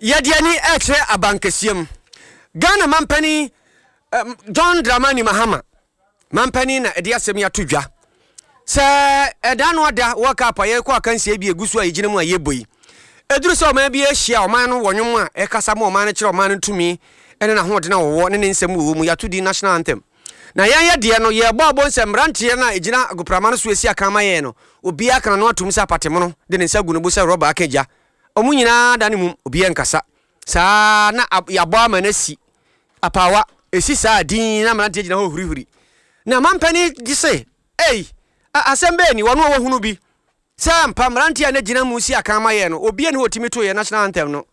Yɛde ani rekyerɛ abankɛseɛ mu. Ghana mampanin John Dramani Mahama mampanin na ɛde asɛm yi ato dwa sɛ ɛda no ada World Cup a yɛrekɔ akansie bi egu so a yɛgyina mu a yɛbɔ yi. Ɛduru sɛ ɔman bi ahyia ɔman no wɔ nnwom a ɛkasa ma ɔman no kyerɛ ɔman no tumi ne n'ahoɔden a wɔwɔ ne ne nsɛm wɔ mu yɛato din national anthem. Na yɛn yɛ deɛ no yɛrebɔ abɔ nsɛ mmeranteɛ no a ɛgyina agoprama no so asi akan ma yɛn no obiara ka n'ano atom sɛ apatemono de ne nsa gu ne bo sɛ rɔba aka gya. Wɔn nyinaa da ne mum, obiara nkasa. Saa ara na yɛabɔ ama no asi. Apaawa, ɛsi saa a, dinn na mmeranteɛ gyina hɔ hurihuri. Na mampanin gye se, Ei, asɛm bɛn ni? Wɔn a wɔhunu bi sɛ ampa mmeranteɛ a na gyina mu si akan ma yɛn no, obiara nni hɔ a ɔtumi too yɛn national anthem no.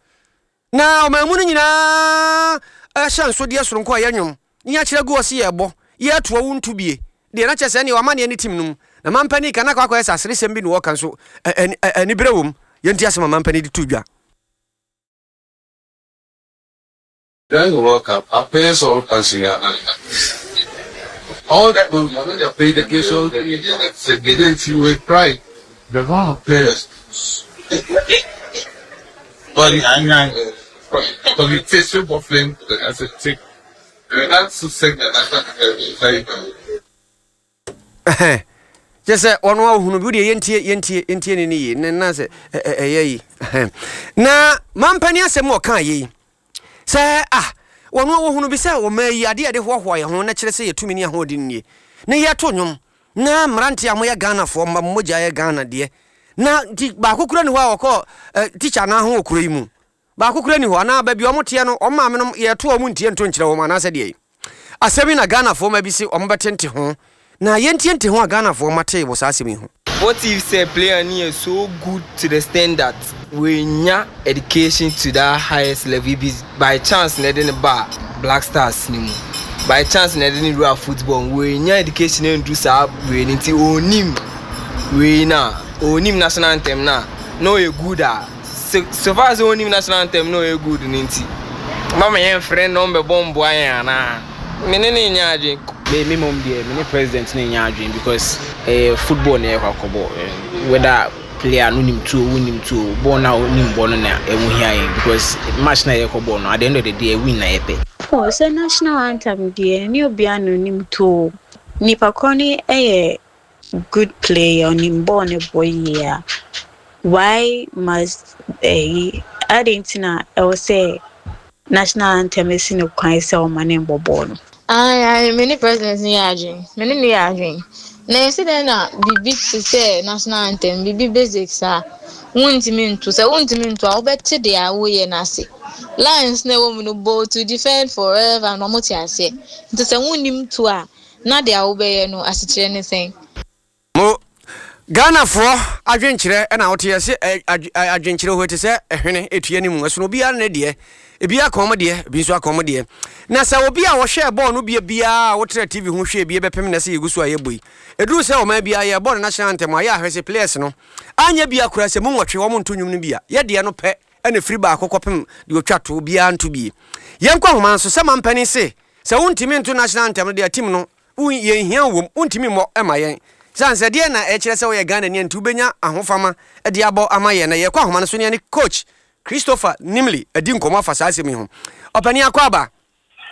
Na ɔman mu no nyinaa ahyɛnsodeɛ soronko a ɛyɛ nnwom ne yɛakyerɛ agu hɔ se yɛrebɔ, yɛretoa wo nto bie deɛ na kyerɛ sɛ ɛneɛ w'amanneɛ ne tim no mu. Na mampanin ka na akɔ akɔyɛ sɛ aseresɛm bi na ɔreka nso aniberɛ wɔ mu. Yɛntie asɛm a mampanin de too dwa. During the World Cup, our players all dancing All the dedication, the pride, the wrong players. But communication waffling as a tick. Kyɛ sɛ ɔno a ɔhunu bi wodeɛ yɛntie yɛntie yɛntie ne ne yie ne na sɛ ɛyɛ yi na mampani asɛm a ɔkaa yei sɛ ah wɔn a wɔhunu bi sɛ wɔma yi adeɛ a yɛde hoahoa yɛn ho na kyerɛ sɛ yɛtumi ne ahoɔden nie na yɛto nnwom na mmeranteɛ a moyɛ Ghanafoɔ mma mo mogya yɛ Ghana deɛ na nti baako kura ni hɔ a wɔkɔ tikya no ho wɔ kuro yi mu Baako koraa nni hɔ, anaa baabi a wɔteɛ no, wɔn maamenom, yɛto a wɔntie nto nkyerɛ wɔn anaasɛ deɛn? Asɛm yi na Ghanafoɔ mma bi se wɔbɛte nte ho, na yɛntie nte ho a Ghanafoɔ mma tee wɔ saa asɛm yi ho. What if sɛ player no yɛ so good to the extent that wanya education to that highest level bi by chance na ɛde no baa Black Stars no mu, by chance na ɛde no wuraa football mu, wanya education andu saa wei no nti ɔnnim wei no a, ɔnnim national anthem no a, na ɔyɛ good a. So far sɛ onim national anthem na ɔyɛ good no nti, mama yɛmfrɛ no na ɔmbɛbɔ mboa yɛn anaa? Me ne no nnyɛ adwen. Me me mom deɛ me ne president no nyɛ adwen because ɛyɛ football na yɛkɔ akɔbɔ whether player no nim tuo wo nim tuo bɔɔl no a wonim bɔ no na ɛho hia yɛn because match na yɛkɔ bɔ no at the end of the day win na yɛpɛ. Oh sɛ national anthem deɛ ɛnyɛ obiara na onim to o. Nipa korɔ no yɛ good player ɔnim bɔɔl no bɔ yie a why must ɛyi adɛn nti na ɛwɔ sɛ national anthem si no kwan sɛ ɔma ne mbɔ bɔɔl no. Ae ae me ne president no yɛ adwen me ne no yɛ adwen na ɛsi dɛn na biribi te sɛ national anthem biribi basic saa wontumi nto sɛ wontumi nto a wobɛte deɛ a woyɛ no ase lines na ɛwɔ mu no bold to defend forever na wɔte aseɛ nti sɛ wonnim to a Na deɛ wobɛyɛ no asekyerɛ ne sɛn? Mo Ghanafoɔ adwenkyerɛ na wote yɛse adwenkyerɛ hɔ te sɛ ɛhwene ɛtua ne mu ɛsono obiara ne deɛ ebi aka wɔn deɛ ebi nso aka wɔn deɛ na sɛ obi a ɔhwɛɛ bɔɔl no bie biara a wotra TV ho hwɛɛ bie bɛpem na sɛ yɛgu so a yɛbɔ yi ɛduru sɛ ɔman biara yɛbɔ no national anthem a yɛ ahwɛ sɛ players no anyɛ bia koraa sɛ mu nwɔtwe wɔn nto nnwom no bi a yɛ deɛ no pɛ ɛna firi baako kɔpem deɛ ɔtwa to biara nto bie yɛnkɔ ahoma nso sɛ mampanin se Sɛ wontumi nto national anthem no deɛ team no wo yɛnhia wo wom wontumi mmɔ mma yɛn sane sɛ deɛn na ɛkyerɛ sɛ woyɛ Ghanani a nti wobɛnya ahofama de abɔ ama yɛn na yɛkɔ ahoma no so ne yɛne coach Christopher Nimley adi nkɔmmɔ afa saa asɛm yi ho. Ɔpanin Akwaaba.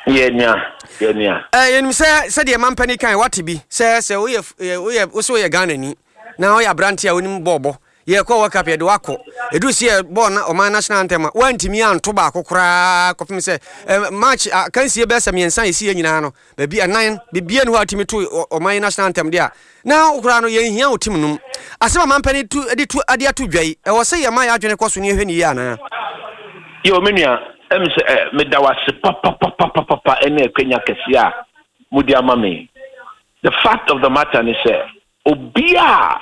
Yɛ nua, yɛ nua. Eh, yɛnim sɛ sɛdeɛ mampanin kae wate bi sɛ sɛ woyɛ woyɛ wo sɛ woyɛ Ghanani na woyɛ aberante a wonim bɔɔlbɔ Yɛkɔ World Cup yɛde wo akɔ. Ɛduru sɛ yɛbɔɔ na ɔman national anthem a, woantumi anto baako koraa kɔpem sɛ eh, match akansie bɛyɛ sɛ mmiɛnsa a ɛsiiɛ nyinaa no, baabi ɛnan, biribiara nni hɔ a wotumi to ɔman national anthem deɛ a, na wo koraa no yɛnhia wo team no mu. Asɛm a mampanin tu de tu de ato dwa yi, ɛwɔ sɛ yɛma yɛn adwene kɔ so na yɛhwɛ no yie anaa? Yo, me nua, ɛm sɛ ɛ, meda wo ase papapapapapa ɛne akwanya kɛseɛ a mode ama me. The fact of the matter ne sɛ, obiara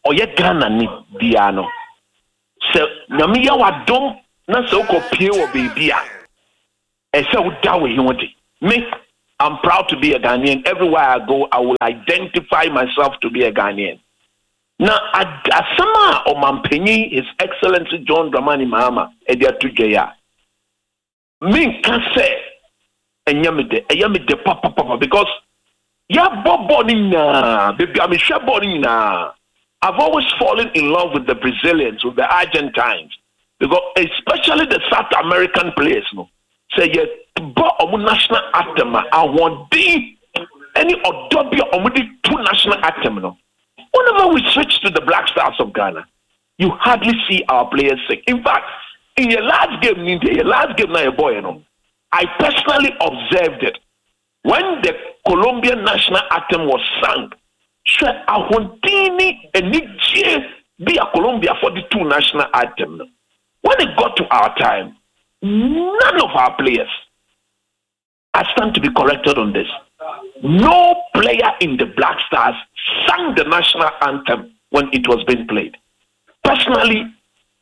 a ɔyɛ Ghana ni biara no, sɛ Nyame yɛ w'adom na sɛ wokɔ pie wɔ baabi a, ɛsɛ woda wo ho adi. Me, I'm proud to be a Ghanaian. Everywhere I go, I will identify myself to be a Ghanaian. Na asɛm a ɔmampanyin His Excellency John Dramani Mahama de ato dwa yi a, Menka sɛ ɛnyɛ me dɛ, ɛyɛ me dɛ papapapa because yɛabɔ bɔɔl no nyinaa, baabi a mehwɛ bɔɔl no nyinaa, I've always fallen in love with the Brazilians, with the Argentines. Because especially the South American players no, sɛ yɛbɔ wɔn national anthem a, ahoɔden ne ɔdɔ bi a wɔde to national anthem no, whenever we switch to the Black Stars of Ghana, you hardly see our players sing. In fact, in your last game, in your last game now, your boy, you know, I personally observed it. When the Colombian national anthem was sung, hwɛ ahoɔden ne anigyeɛ bi a Colombiafoɔ de too national anthem no. When it got to our time, none of our players, I stand to be corrected on this, no player in the Black Stars sang the national anthem when it was being played. Personally,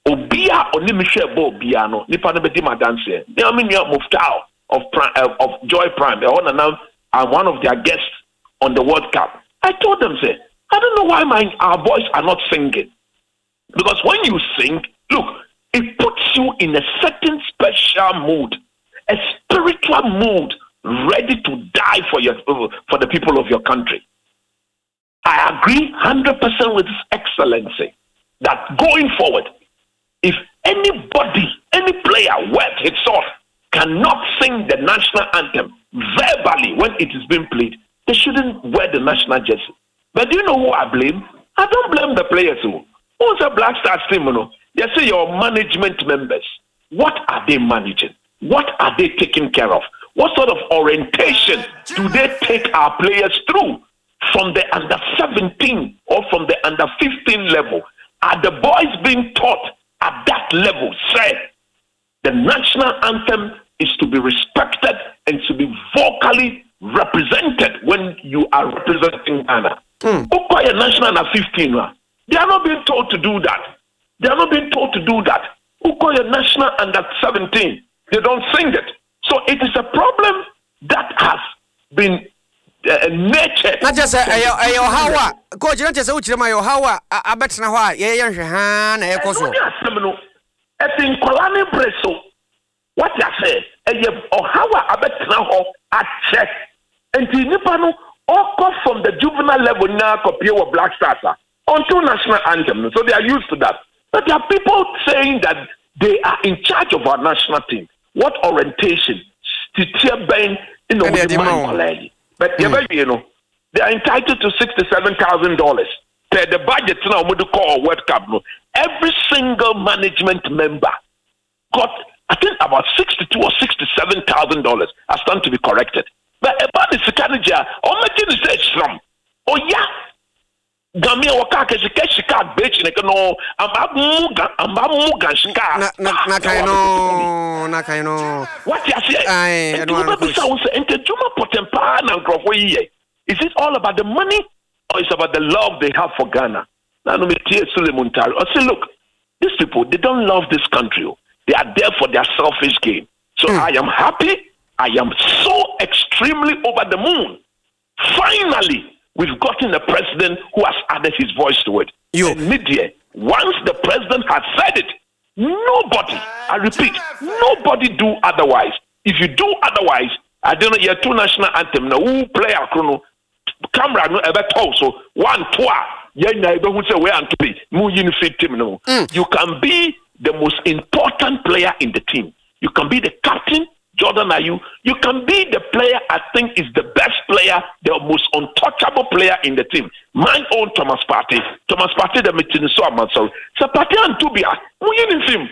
obi a ɔne me hwɛɛ bɔɔl biara no, nipa no bɛdi m'adanseɛ. Me ara me nua Muftau of Prime, eh, of Joy Prime, ɛhɔ na na I'm one of their guests on the World Cup. I told them, say, I don't know why my our boys are not singing. Because when you sing, look, it puts you in a certain special mood, a spiritual mood, ready to die for your for the people of your country. I agree 100% with His Excellency that going forward, if anybody, any player worth his salt cannot sing the national anthem verbally when it is being played, they shouldn't wear the national jersey. But do you know who I blame? I don't blame the players. Who Who's a Black Stars team? You know? They say your management members. What are they managing? What are they taking care of? What sort of orientation do they take our players through from the under 17 or from the under 15 level? Are the boys being taught at that level? Say, the national anthem is to be respected and to be vocally represented when you are representing Ghana. Mm. National under 15, they are not being told to do that. They are not being told to do that. Ukoya National under 17, they don't sing it. So it is a problem that has been uh, nurtured. Na kyerɛ sɛ ɛyɛ ɛyɛ ɔhaw a coach na kyerɛ sɛ wokyerɛ mu ɛyɛ ɔhaw a abɛtena hɔ a yɛyɛ nhwɛ haa na ɛkɔ so. Ɛno ne asɛm no ɛfi nkwadaa ne bere so wate asɛ ɛyɛ ɔhaw a abɛtena hɔ akyɛ nti nipa no ɔkɔ from the juvenile level nyinaa kɔpie wɔ Black Stars a until national anthem no so they are used to that but there are people saying that they are in charge of our national team what orientation titiɛ bɛn na wɔde ma nkwadaa yi but yɛbɛwie no they are entitled to $67,000 per the budget na wɔde kɔɔ World Cup no every single management member got I think about 62 or $67,000. I stand to be corrected. But about the sika no gya ɔmɛgye ne sɛ hyram ɔya Gami a wɔka kɛ sika sika agbekyi ne no amba mu ga amba mu ga sika. Na na na kan no na kan no. Wate aseɛ? Aye, Nti ɛno ano coach. wobɛbisa wo sɛ nti adwuma pɔtɛn paa na nkurɔfoɔ yi yɛ. Is it all about the money or it's about the love they have for Ghana? Na no metie Sule Muntari. Ɔse look, these people they don't love this country. o. They are there for their selfish gain. So I am happy. I am so extremely over the moon. Finally, we've gotten a president who has added his voice to it. Yo. And media, once the president has said it, nobody, I repeat, nobody do otherwise. If you do otherwise, I don't know, your two national anthem, now who play a chrono, camera no ever told so one two yeah na ebe who say where and to be mu yin fit team no. You can be the most important player in the team. You can be the captain, Jordan Ayew. You can be the player I think is the best player, the most untouchable player in the team. My own Thomas Partey. Thomas Partey the meeting so I'm sorry. So Partey and Tubia, mu yin film.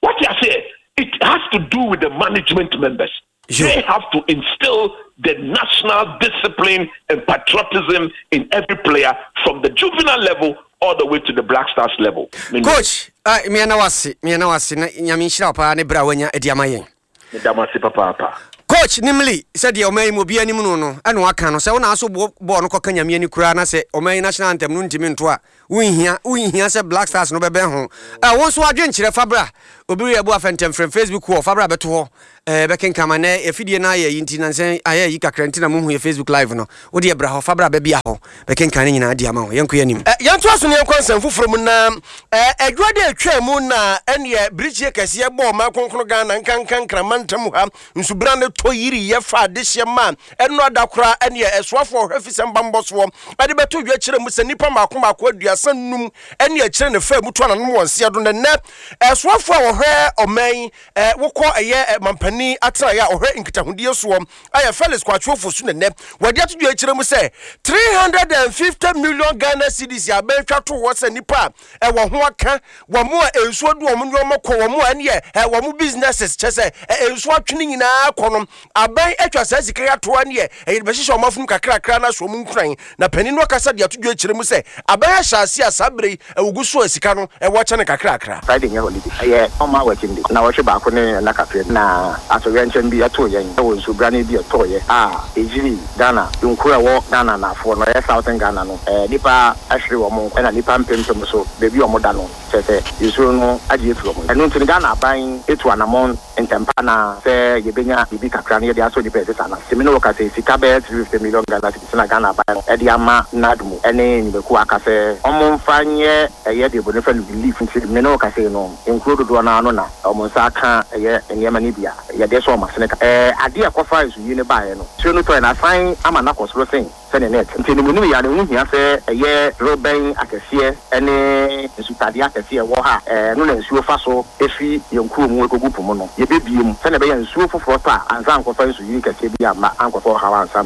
What you say? It has to do with the management members. Sure. They have to instill the national discipline and patriotism in every player from the juvenile level all the way to the Black Stars level. Meaning, Coach, ah, mmiɛ wase, mmiɛ wase na nyame nhyira wo paa ne berɛ a wanya adi ama yɛn. Medamase papaapa. Coach Nimli sɛdeɛ ɔman yi mu obiara anim no no ɛna waka no sɛ wo na aso bɔ bɔɔl no kɔka nyame ani koraa na sɛ ɔman yi national anthem no ntumi nto a wonhia wonhia sɛ Black Stars no bɛbɛn ho. Ɛ wo nso adwenkyerɛ fa bra obi reyɛ bu afɛntɛmfrɛm Facebook wɔ fa bra bɛto hɔ ɛɛ bɛkenkan ma nɛ afidie no ayɛ yi nti nansɛ ayɛ yi kakra nti na mohu yɛ Facebook live no wo deɛ bra hɔ fa bra bɛbia hɔ bɛkenkan ne nyinaa di ama wo yɛnkɔ yɛ anim. Ɛ Yɛntoa so na yɛnkɔ nsɛm foforɔ mu na ɛ Adwuada a ɛtwaa mu na ɛneɛ birikyie kɛseɛ bɔɔ ɔman kronkron Ghana nkanka Nkraman ntam ha Nsubena no tɔ yiriiɛ faa adehyeɛ maa ɛno ada koraa ɛneɛ ɛsoafoɔ ɔhwɛ fisɛm bammɔ soɔ de bɛto dwa kyerɛ mu sɛ nnipa mmaako mmaako aduasa. 35 ne akyire na ɛfaa mu to ananom wɔ nseɛ do. Na nnɛ soafoɔ a wɔhwɛ ɔman yi wokɔ ɛyɛ mampanin atenaeɛ a ɔhwɛ nkitahodie soɔ ayɛ Felix Kwakye Ofosu na nnɛ wɔde ato dwa akyerɛ mu sɛ 350 million Ghana cedis a abɛntwa to hɔ sɛ nnipa a ɛwɔ ho aka wɔn a nsuo de wɔn nneɛma kɔ wɔn a ɛneɛ wɔn businesses kyɛ sɛ nsuo atwe ne nyinaa kɔ no. Aban atwa saa sika yi ato ɛneɛ ɛyɛ de bɛhyehyɛ wɔn afonom kakrakra na ahyɛ wɔn nkuran. Na panin no akasa de ato dwa akyerɛ mu sɛ aban ahyɛ aseɛ a saa berɛ yi ɛwɔ so a sika no ɛwɔ kyɛ no kakrakra. Friday nyɛ holiday, ɛyɛ normal working day. Nnawɔtwe baako ne nna kakra bi na atoyerɛnkyɛm bi too yɛn wɔ nsubrane bi a ɛtɔeɛ a ɛgyirii Ghana nkuro a ɛwɔ Ghana anaafoɔ no, ɛyɛ Southern Ghana no. Nnipa ahwere wɔn nkwa ɛna nnipa mpempem nso baabi a wɔda no kyerɛ sɛ nsuo no agye afiri wɔn. Ɛno nti no Ghana aban atu anamɔn ntɛmpa na sɛ yɛbɛnya biribi kakra no yɛde asɔ nnipa a ɛte saa no ase. Me ne wo kasa yi, sika bɛyɛ 350 million Ghana cedis na Ghana aban no de ama NADMO ne nnwumakuo a aka sɛ wɔmfa nyɛ ɛyɛ deɛ obroni frɛ no relief. Nti me ne wo kasa yi no, nkuro dodoɔ no ara no na wɔn nsa aka ɛyɛ nneɛma no bi a yɛde sɔ wɔn asene ka. Ɛɛ adeɛ a ɛkɔfaa nsuyiri no baeɛ no, nsuo no tɔeɛ no asan ama no akɔ soro sen sɛnea na ɛte. Nti animuonyam yi ara no, ɛho hia sɛ ɛyɛ dorobɛn akɛseɛ ne nsutadeɛ akɛseɛ a ɛwɔ ha a ɛno na nsuo fa so fi yɛn kuro mu kɔgu po mu no, yɛbɛbue mu sɛnea ɛbɛyɛ a nsuo foforɔ tɔ a, ansa ankɔfa nsuyiri kɛseɛ bi amma ankɔfa ɔhaw ansa.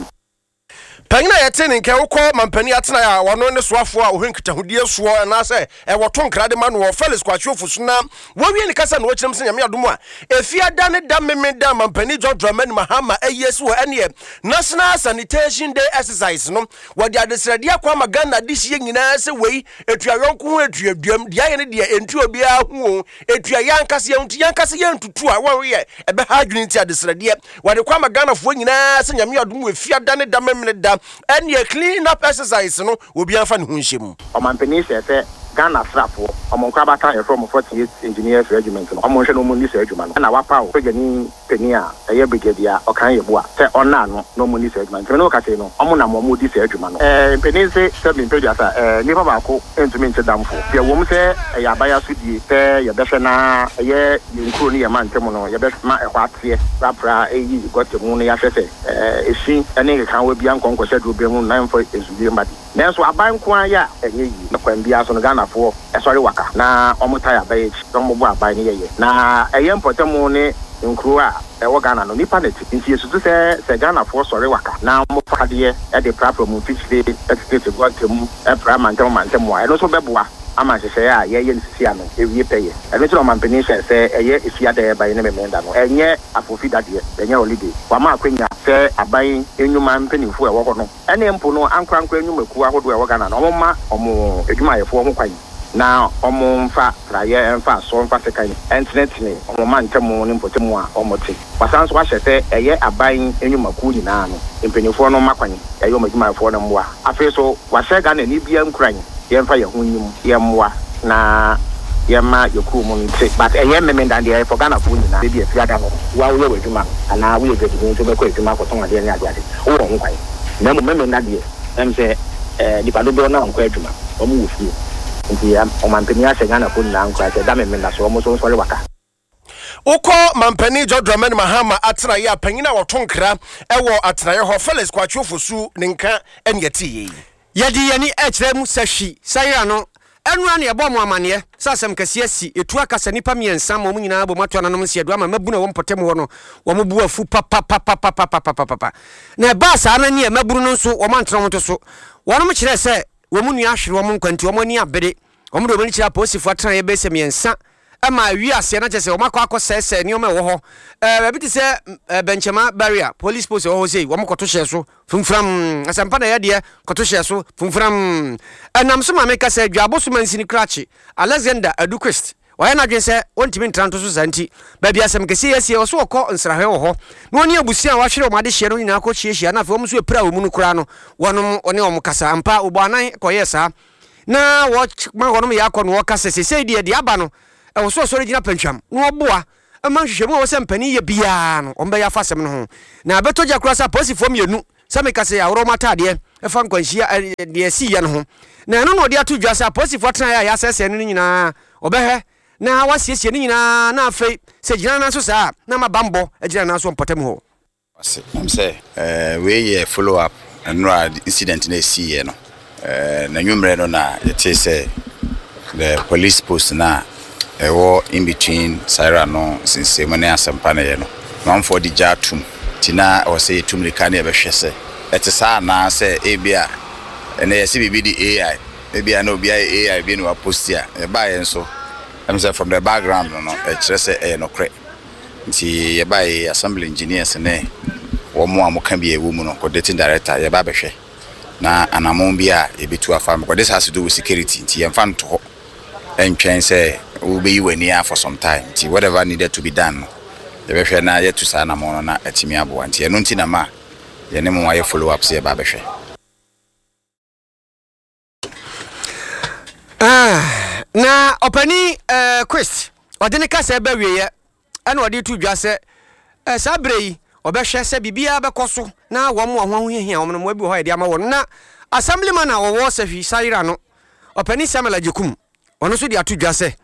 Panyin a yɛtee ne nka yi, wokɔ mampanin atenae a ɔno ne soafoɔ a ɔhwɛ nkitahodie soɔ anaasɛ wɔto nkra de ma noɔ, Felix Kwakye Ofosu na wɔwie ne kasa na ɔkyerɛ mu sɛ Nyame adom a Efiada ne da Memeda mampanin John Dramani Mahama ayi asi hɔ ɛneɛ National Sanitation Day Exercise no wɔde adesrɛdeɛ akɔ ama Ghana adehyeɛ nyinaa sɛ wei ɛtua yɔnko ho ɛtua duam deɛ ayɛ ne deɛ ɛntua obiara ho o ɛtua yɛn ankasa yɛn ho nti yɛn ankasa yɛn ntutu a wɔreyɛ ɛbɛha adwene nti adesrɛdeɛ wɔde kɔ ama Ghanafoɔ nyinaa sɛ Nyame adom wɔ Efiada ne da Memeneda ɛneɛ clean up exercise no obiara mfa ne ho nhyɛ mu. Ɔmanpanin hyɛɛ sɛ Ghana asraafoɔ, wɔn nkorabata a yɛfrɛ wɔn 48th Engineers Regiment no, wɔnhwɛ na wɔnni saa adwuma no. Ɛna wɔapaw sogyani panin a ɛyɛ Brigadier Ɔkan Yeboah sɛ ɔnna ano na wɔnni saa adwuma no. Nti me ne wo kasa yi no, wɔn nam wɔredi saa adwuma no. Ɛɛ, mpanin se sɛ mempɛ aduasa, ɛɛ, nnipa baako ntumi nkye damfo. Deɛ ɛwom sɛ ɛyɛ aban asodie sɛ yɛbɛhwɛ na ɛyɛ yɛn nkuro ne yɛn mantam no, yɛbɛma ɛhɔ ateɛ, prapra, ayiyi gɔta mu na yɛahwɛ sɛ, ɛɛ, efi ne nkekaawa biara nkɔ nkɔhyɛ dorobɛn mu na ɛmfa nsuyire mma de. Nanso aban nko ara yɛ a ɛnyɛ yie. Kwan biara so no Ghanafoɔ sɔre waka na wɔn tae aban akyi na wɔn bɔ aban no yɛyɛ. Na ɛyɛ mpɔtamu ne nkuro a ɛwɔ Ghana no nnipa na ɛte. Nti yɛsusu sɛ sɛ Ghanafoɔ sɔre waka na wɔn fa adeɛ de prapra wɔn mfikyire tetete gɔta mu pra mantam mantam a ɛno nso bɛboa ama nhyehyɛeɛ a yɛreyɛ no sisi ano awie pɛyɛ. Ɛno nti na ɔmanpanin hyɛɛ sɛ ɛyɛ Efiada a ɛreba yi ne Memeneda no ɛnyɛ afofi da deɛ, ɛnyɛ holiday. Wama akwanya sɛ aban nnwuma mpanimfoɔ a ɛwɔ hɔ no Ɛne mpo no ankorankoro nnwumakuo ahodoɔ a ɛwɔ Ghana no, wɔmma wɔn adwumayɛfoɔ ho kwan na wɔmfa praeɛ, mfa asɔ, mfa sekan ntenetene wɔn mantam ne mpɔtam a wɔte. Wɔasan nso ahyɛ sɛ ɛyɛ aban nnwumakuo nyinaa no mpanimfoɔ no mma kwan ɛyɛ wɔn adwumayɛfoɔ no mmoa. Afei nso wɔahyɛ Ghanani biara nkuran yɛmfa yɛn ho nnyim, yɛmmoa na yɛmma yɛ kurom nte but ɛnyɛ Memendan deɛ ɛyɛ for Ghanafoɔ nyinaa. Ebia Fiada no wo a woyɛ w'adwuma anaa woyɛ dwadini nti wobɛkɔ adwuma akɔtɔn adeɛ ne adeade. Wowɔ ho kwan. Na mmom Memeneda deɛ, ɛm sɛ nnipa dodoɔ no ara nkɔ adwuma, wɔn wɔ fie. Nti ɔmanpanin ahyɛ Ghanafoɔ nyinaa nkuran sɛ da Memeneda so wɔn nso nsɔre waka. Wokɔ Mampanin John Dramani Mahama atenaeɛ a, panyin a ɔto nkra wɔ atenaeɛ hɔ, Felix Kwakye Ofosu ne nka ne ɛteeɛ yi. Yɛde yɛn ani rekyerɛ mu sɛ hwi sayera no, ɛno ara na yɛbɔɔ mo amanneɛ sɛ asɛm kɛseɛ asi. Ɛtu aka sɛ nnipa mmiɛnsa ma wɔn nyinaa abom ato ananom nseɛdo ama mmabunu a ɛwɔ mpɔtam hɔ no, wɔn bo afu papapapapapapapa. Na ɛbaa saa no neɛ mmabunu no nso wɔn antena wɔn to so. Wɔnom kyerɛɛ sɛ wɔn nua ahwere wɔn nkwa nti wɔn ani abere. Wɔn de wɔn ani kyerɛɛ apolisifoɔ atenaeɛ bɛyɛ sɛ mmiɛnsa ma awie aseɛ na kyerɛ sɛ wɔn akɔ akɔsɛesɛe nneɛma a ɛwɔ hɔ. Ɛɛ baabi te sɛ ɛɛ Bɛnkyɛma barrier, police post ɛwɔ hɔ sei, wɔn kɔto hyɛɛ so fumfuram. Asɛmpa na ɛyɛ deɛ kɔto hyɛɛ so fumfuram. Ɛnam so ma meka sɛ Dwabo so mansini krakye Alexander Adu Quist wayɛ n'adwene sɛ ɔntumi ntra nto so saa nti baabi asɛm kɛseɛ yi asie ɔso ɔkɔ nsrahwɛ wɔ hɔ na ɔne abusua a wɔahwere wɔn adehyeɛ no nyinaa kɔ hyiahyia na afei wɔn nso apira wɔn mu no koraa no wɔnom ɔne wɔn kasa. Ampa wɔbɔ anan kɔyɛɛ saa. Na wɔma wɔnom yɛ akɔ na wɔka sɛ, Seesei deɛ, deɛ aba no, ɛwɔ sɛ ɔsɔre gyina pantwam na ɔboa ma nhwehwɛmu a ɛwɔ sɛ mpanin yɛ biara no, wɔbɛyɛ afa asɛm no ho. Na ɛbɛtɔ gya koraa sɛ apolisifoɔ mmienu, sɛ meka sɛ yɛaworɔ wɔn ataadeɛ fa nkwanhyia deɛ ɛsiiɛ no ho. Na ɛno na ɔde ato dwa sɛ apolisifoɔ atenaeɛ a yɛasɛesɛe no no nyinaa, wɔbɛhwɛ na wɔasiesie ne nyinaa na afei sɛ ɛgyina nan so saa a, na ama bammɔ agyina nan so wɔ mpɔtam hɔ. Ase. Nam sɛ wei yɛ follow up nnora incident no a ɛsiiɛ no. N'anwummerɛ no na yɛtee sɛ the police post no a ɛwɔ in between Saira no nsensɛnmu ne Asɛmpa no yɛ no, amanfoɔ de gya atom nti na ɛwɔ sɛ yɛtu mmirika na yɛbɛhwɛ sɛ ɛte saa anaa sɛ ebia ɛnnɛ yɛse biribi de AI, ebia na obi ayɛ AI bi na waposti a, yɛbaeɛ nso ɛm sɛ from the background no no ɛkyerɛ sɛ ɛyɛ nokorɛ. Nti yɛbaeɛ yi assembly engineers ne wɔn a wɔka bi a ɛwɔ mu no, coordinating director, yɛba abɛhwɛ. na anamɔn bi a yɛbɛtu afa because this has to do with security nti yɛmfa nto hɔ ntwɛn sɛ wobɛyi w'ani a for some time nti whatever needed to be done no yɛbɛhwɛ na yɛatu saa anamɔn no na atumi aboa nti ɛno nti na ma yɛne mo ayɛ follow up sɛ yɛba abɛhwɛ. Ah, na ɔpanin eh, Quist, ɔde ne kasa ba wieɛ ɛna ɔde to dwa sɛ eh, saa berɛ yi ɔbɛhwɛ sɛ biribiara bɛkɔ so na wɔn a ho ahohiahia wɔn no mmoa bi wɔ hɔ a yɛde ama wɔn. Na Assemblyman a ɔwɔ Sahwi Sayera no, ɔpanin Samuel Agyekum, Ɔno nso de ato dwa sɛ,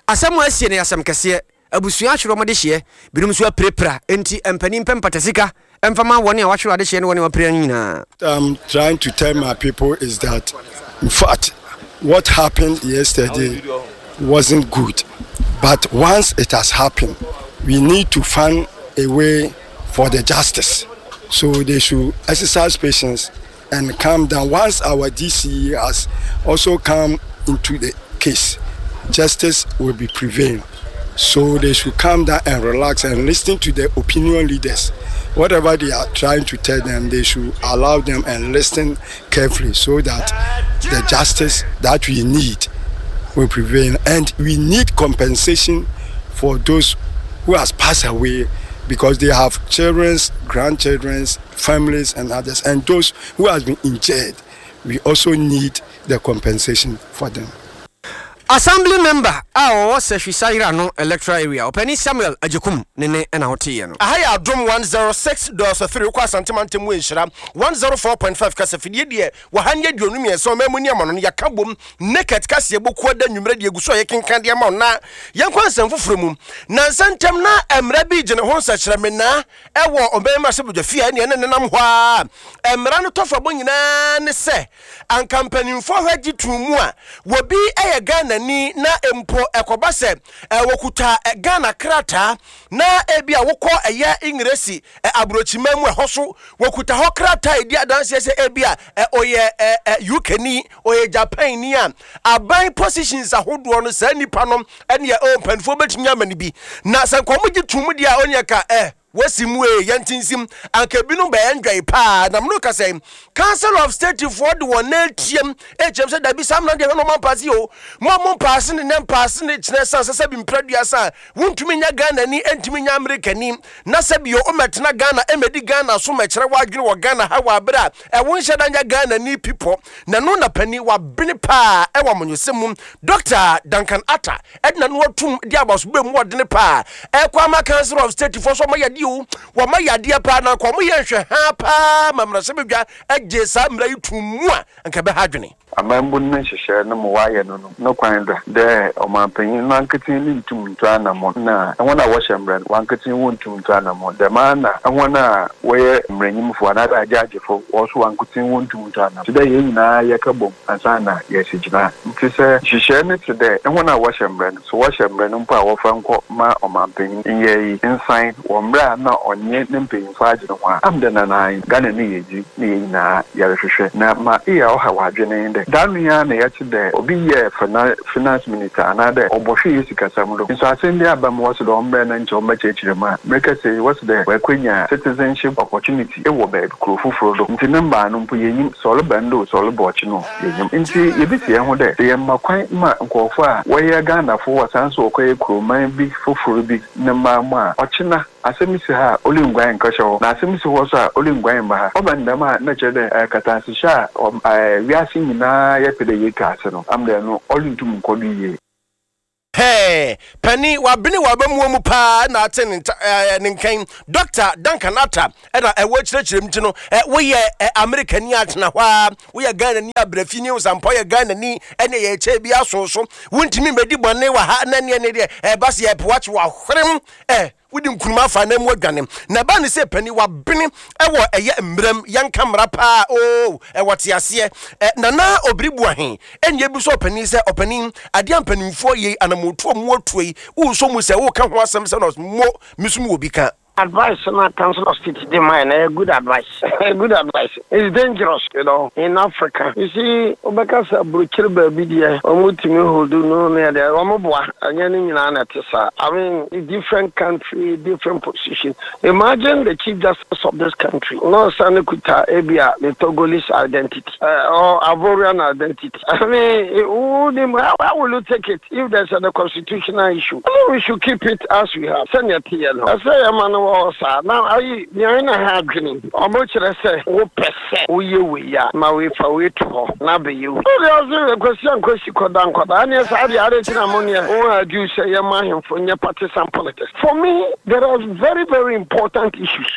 asɛm a asie no yɛ asɛm kɛseɛ. Abusua ahwere wɔn adehyeɛ, binom nso apirapira, enti mpanin mpɛ mpatasika mfa ma wɔn a wɔahwere adehyeɛ ne wɔn a wɔapira no nyinaa. I'm trying to tell my people is that in fact what happened yesterday wasn't good but once it has happened we need to find a way for the justice so they should exercise patience and calm down once our DCE has also come into the case justice will be prevail so they should calm down and relax and listen to the opinion leaders whatever they are trying to tell them they should allow them and listen carefully so that the justice that we need will prevail and we need compensation for those who has passed away because they have children's grandchildren's families and others and those who has been injured we also need the compensation for them. Assembly member a ɔwɔ Sehwi Sayera no electoral area, Ɔpanin Samuel Agyekum ne ne na woteeɛ no. Aha yɛ Adom 106.3 wokɔ Asante mantam mu Nhyira 104.5 kasafidie deɛ wɔ ha ne 23 ɔman mu ne amano no yɛaka bom Naked kaseɛbɔ kuo da nwummerɛ deɛ egu so a yɛkenkan de ama wo na yɛnkɔ nsɛm foforɔ mu Nansa ntam na mmara bi gyene ho nsɛkyerɛmenaa Ɛwɔ ɔman mmarahyɛbadwafie a ɛne ɛne nenam hɔ ara. Mmara no tɔfabɔ nyinaa ne sɛ anka mpanimfoɔ hwɛ gye too mu a wɔbi yɛ Ghanani na mpo ɛkɔba sɛ wɔkuta Ghana krataa na ebi a wokɔ ɛyɛ Ingiresi aburokyiman mu ɛhɔ so wɔkuta hɔ krataa a ɛdi adanseɛ sɛ ebi a ɔyɛ UKni ɔyɛ Japanni a aban positions ahodoɔ no saa nipa no ɛneɛ oh mpanimfoɔ bɛtumi ama no bi na sɛ nka wɔn gye tom deɛ a ɔneɛ ka eh wɔsi mu ee yɛnte nsim anka ebinom bɛyɛ ndwɛe paa na mene kasa yi Council of State foɔ de wɔn nan atiam ɛkyɛm sɛ dabi saa mmara deɛ hwɛ na ɔma mpaase o mo a mo mpaase ne nɛ mpaase ne kyerɛ san sɛ sɛbi mprɛduasa a wontumi nyɛ Ghana ni ɛntumi nyɛ Amerika ni na sɛbi o ɔmɛtena Ghana ɛmɛdi Ghana so mɛkyerɛ w'adwene wɔ Ghana ha wɔ abere a ɛwo nhyɛ da nyɛ Ghana ni pipɔ na no na pani wabene paa ɛwɔ amanyɔsɛm mu Dɔkta Duncan Arthur de n'ano atum de abasobɔ mu ɔdene paa ɛkɔ ama Council of State foɔ so wɔn yadeɛ o, wɔn ayɛ adeɛ paa na anka wɔn yɛ nhwɛhaa paa ma mmarahyɛbadwa gye saa mmara yi tum mu a anka ɛbɛha adwene. Amambu no ne nhyehyɛɛ no ma wɔayɛ no no no kwan do dɛ ɔmampanyin noanketsee no nntum nntu anamɔn na hɔn a wɔhyɛ mbra no wankotsee wonntum nntu anamɔn. Dɛm ara na hɔn a wɔyɛ mbranyimfo anaadɛ agyaagyefo hɔn so wankotsee wonntum nntu anamɔn. Tse dɛ hɛn nyina yɛkɛbɔ mu ansaana yɛesi gyinae. Ntsi sɛ nhyehyɛɛ no tse dɛ hɔn a wɔhyɛ mbra no, sɛ wɔhyɛ mbra no mpo a wɔfa nkɔ ma ɔmampanyin nyɛe yi nsan wɔ mbrɛ a nna ɔnye ne mpanyimfo agye no ho a, am dɛ nna ae Ghana ne yiedzi na hɛn nyina yɛrohwehwɛ. Na ma eyɛ a ɔhaw adwen nye dɛ, da no yi ara na yɛtse dɛ obi yɛɛ finance minister anaadɛ ɔbɔhwɛ hɛn sikasɛm do. Nso asɛm bi aba mu wɔse dɛ ɔmbrɛ na nkyɛ ɔmbɛkyerɛkyerɛ mu a, merekasa yi wɔse dɛ oekonya citizenship opportunity wɔ beebi, kurow fofor do. Ntsi ne mbaa no mpo yennyim sɛ ɔreba ndɛ o, sɛ ɔreba ɔkye no o, yennyim. Ntsi yebisi hɛnho dɛ, sɛ yɛmma kwan ma nkorɔfo a wɔyɛ Ghanafo wɔsan so wɔkɔyɛ kurowman bi fofor bi ne mbaa mu a, ɔkyena asɛm si ha a, orunnguan nnkɔhyɛ hɔ, na asɛm si hɔ so a, orunnguan mmba ha. Ɔba no dɛm a, nna kyerɛ dɛ katasehyɛ a wiase nyina yɛpɛ dɛ yetu ase no, ama dɛ no orunntum nnkɔ do yie. Hɛɛ, panin, wabene w'abamuo mu paa na ate ne nta ɛɛ ne nkan. Dɔkta Duncan Arthur ɛna ɛwɔ kyerɛkyerɛ mu ti no, ɛ woyɛ ɛ Amerikani a tena hɔ ara, woyɛ Ghanani a brɛ fi ne Osampɔ yɛ Ghanani ɛne yɛ kyɛ bi aso so. Wontumi mmɛdi bɔne wɔ ha na ɛneɛ ne deɛ ɛba sɛ yɛpo wakye wahwerem ɛ. Wodi nkunim afa anan mu adwane. Na ɛbaa ne sɛ panin wabene wɔ ɛyɛ mmeram yɛnka mmara paa oo ɛwɔ te aseɛ ɛ Nana Obiri Boahen ɛne ɛbisa ɔpanin sɛ ɔpanin adeɛ a mpanimfoɔ yei anamotuo mu atuo yi wosɔ mu sɛ woka ho asɛm sɛ na mo me so mewɔ bi ka. Advice no a Council of State de mae no ɛyɛ good advice ɛyɛ good advice it's dangerous you know in Africa you see wobɛka sɛ abrokyire baabi deɛ wɔn tumi hold no ne ɛdeɛ wɔn boa ɛnyɛ ne nyinaa na ɛte saa I mean different country different position imagine the chief justice of this country na ɔsan kuta ebi a the Togolese identity uh, or Ivorian identity I mean wonim how will you take it If there's a constitutional issue, I think we should keep it as we have. Sɛnea ɛteɛ no, ɛsɛ yɛma no wɔ hɔ saa. Na ayi, nea ɛna ha adwene, wɔn kyerɛ sɛ wopɛ sɛ woyɛ wei a, ma wei fa wei to hɔ na abɛyɛ wei. Wode ɔse Kwasi Ankwasi kɔda nkɔda, ɛneɛ saa deɛ adɛn nti na mo neɛ wo argue sɛ yɛma ahemfo nyɛ partisan politics? For me, there are very very important issues.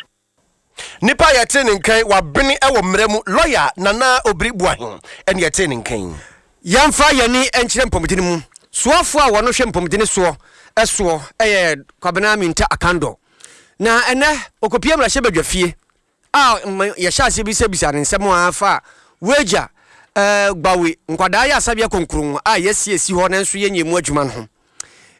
Nipa a yɛtee ne nka yi, wabene wɔ mmara mu. Lɔya Nana Obiri Boahen na yɛtee ne nka yi. Yɛmfa yɛn ani nkyerɛ mpɔmudene mu. Soafoɔ a wɔn hwɛ mpɔmudene soɔ soɔ yɛ Kwabena Mintah Akandoh. Na ɛnnɛ ɔkɔpie mmarahyɛbadwa fie a yɛhyɛ aseɛ bisabisa ne nsɛm a fa Wagya Gbawe nkwadaa yɛ asabea konkron a yɛasi asi hɔ nanso yɛnyɛ mu adwuma no ho.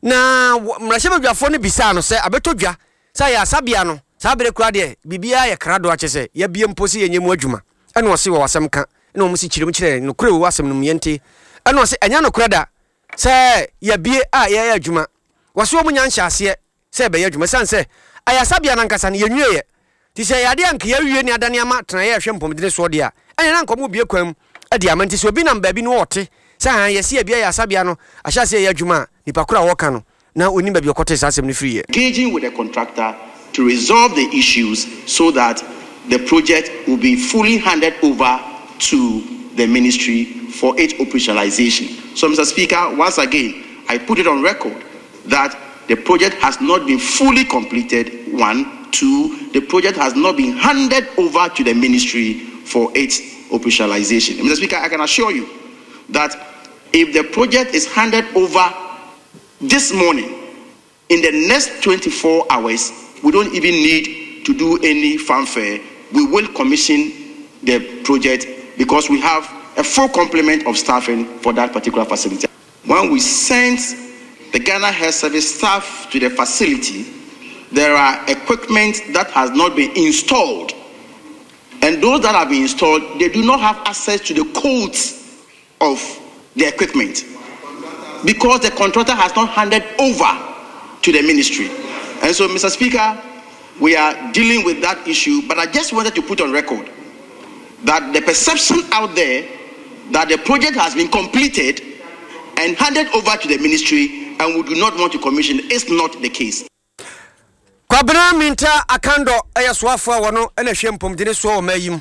Na mmarahyɛbadwafoɔ no bisaa no sɛ abɛtɔ dwa Sɛ ayaresabea no, saa bere koraa deɛ biribiara yɛ krado a kyerɛ sɛ yɛabue mpo sɛ yɛnyɛ mu adwuma. Ɛna ɔse wɔ asɛm ka ɛna wɔn se kyerɛ mu kyerɛ yɛn nokorɛ wɔ asɛm no mu yɛnte. Ɛna ɔse ɛnyɛ nokorɛ da sɛ yɛabue a yɛyɛ adwuma. Wɔse wɔn nya nhyɛaseɛ sɛ yɛbɛyɛ adwuma ɛsiane sɛ ayaresabea no ankasa no yɛnwieɛ. Nti sɛ ɛyɛ adeɛ a anka yɛawie ne adane ama tenaeɛ a ɛhwɛ mpɔmudene soɔ deɛ a, ɛneɛ na anka wɔrebue kwan mu de ama. Nti sɛ obi nam baabi na ɔte sɛ aane yɛse yɛabue ayaresabea no ahyɛ aseɛ reyɛ adwuma a, nipa korɔ a wɔreka no na ɔnnim baabi a ɔkɔtee saa asɛm no firiiɛ. Engaging with the contractor to resolve the issues so that the project will be fully handed over to the ministry for its operationalization. So, Mr. Speaker, once again, I put it on record that the project has not been fully completed, one. Two, the project has not been handed over to the ministry for its operationalization. Mr. Speaker, I can assure you that if the project is handed over this morning, in the next 24 hours, we don't even need to do any fanfare. We will commission the project because we have a full complement of staffing for that particular facility. When we sent the Ghana Health Service staff to the facility, there are equipment that has not been installed. And those that have been installed, they do not have access to the codes of the equipment because the contractor has not handed over to the ministry. And so, Mr. Speaker, we are dealing with that issue, but I just wanted to put on record that the perception out there that the project has been completed and handed over to the ministry and we do not want to commission is not the case. Kwabena Mintah Akandor yɛ soafoɔ a wɔno na ɛhwɛ mpomdene soɔ wɔ ɔman yi mu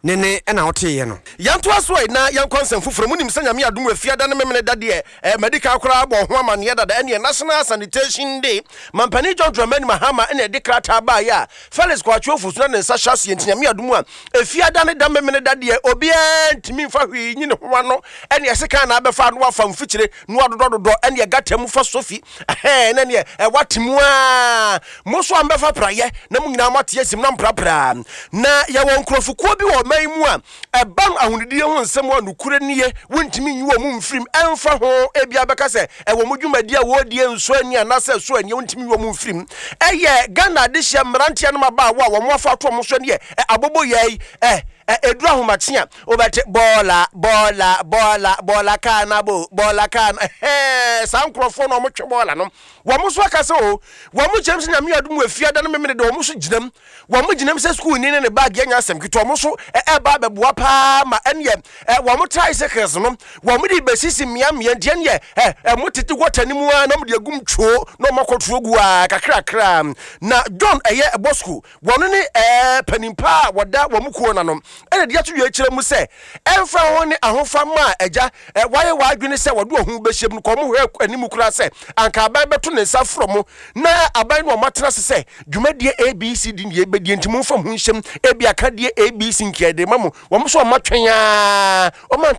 ne ne na woteeɛ no. Yɛntoa so ɛ na yɛnkɔ nsɛm foforɔ mu. Wonim sɛ Nyame adom Efiada ne Memeneda deɛ eh, madi kan koraa abɔ ho amanneɛ dada. Ɛneɛ National Sanitation Day, Mampanin John Dramani Mahama na ɛde krataa baeɛ a Felix Kwakye Ofosu na ne nsa hyɛ aseɛ nti Nyame adom a Efiada ne da Memeneda deɛ obiara ntumi mfa hwee nyi ne ho ano. Ɛneɛ sekan na abɛfa ano afa mfikyire na wadodɔdodɔ ɛneɛ gata mu fa sofi Ɛhɛɛ, na neɛ ɛwɔ ate mu ara. Mo nso a mobɛfa praeɛ, na mo nyinaa moate asim na moprapra. Na yɛwɔ nkurɔfokuo bi wɔ ɔman yi mu a, ɛba ahonidie ho nsɛm a, nokorɛ nie, wontumi nyi wɔn mfiri mu. Ɛmfa ho, ebia bɛka sɛ ɛwɔ mo dwumadie a wɔredie nsɔ ani anaasɛ ɛsɔ ani a, wontumi nyi wɔn mfiri mu. Ɛyɛ Ghana adehyeɛ mmeranteɛ no mmabaawa a wɔn afa ato wɔn so neɛ aboboyaa yi, ɛ, ɛ, ɛduru ahomakye a, Wobɛte bɔɔla, bɔɔla, bɔɔla, bɔɔla kaa no abo, bɔɔla kaa no, ɛhɛɛ, saa nkurɔfoɔ no a wɔtwe bɔɔla no, wɔn nso aka sɛ o, wɔn gyinam sɛ Nyame adom wɔ efiada no memene de wɔn nso gyinam, wɔn gyinam sɛ sukuuni ne ne baage anya asɛm ketewa, wɔn nso ɛba abɛboa paa ma ɛneɛ ɛ, wɔn tricycles no, wɔn de bɛsisi mmeammea nti ɛneɛ ɛ, ɛ, mo tete gɔta no mu ara na wɔn de agum twoo na wɔn akɔtoɔ gu ara kakrakra. Na John ɛyɛ Bosco, Wɔn ne ɛɛ panin pa a wɔda wɔn kuo no ano na de ato dwa kyerɛ mu sɛ ɛmfa ho ne ahofama a agya ɛ wayɛ w'adwene sɛ wɔde wɔn ho bɛhyɛ mu no kɔ wɔn hwɛ anim koraa sɛ anka aban bɛto ne nsa frɔ mo na aban ne wɔn atena ase sɛ dwumadie ABCD ne yɛbɛdie nti momfa mo ho nhyɛm ebi akadeɛ ABC nkeɛ de ma mo wɔn nso wɔn atwɛn ara wɔn ante.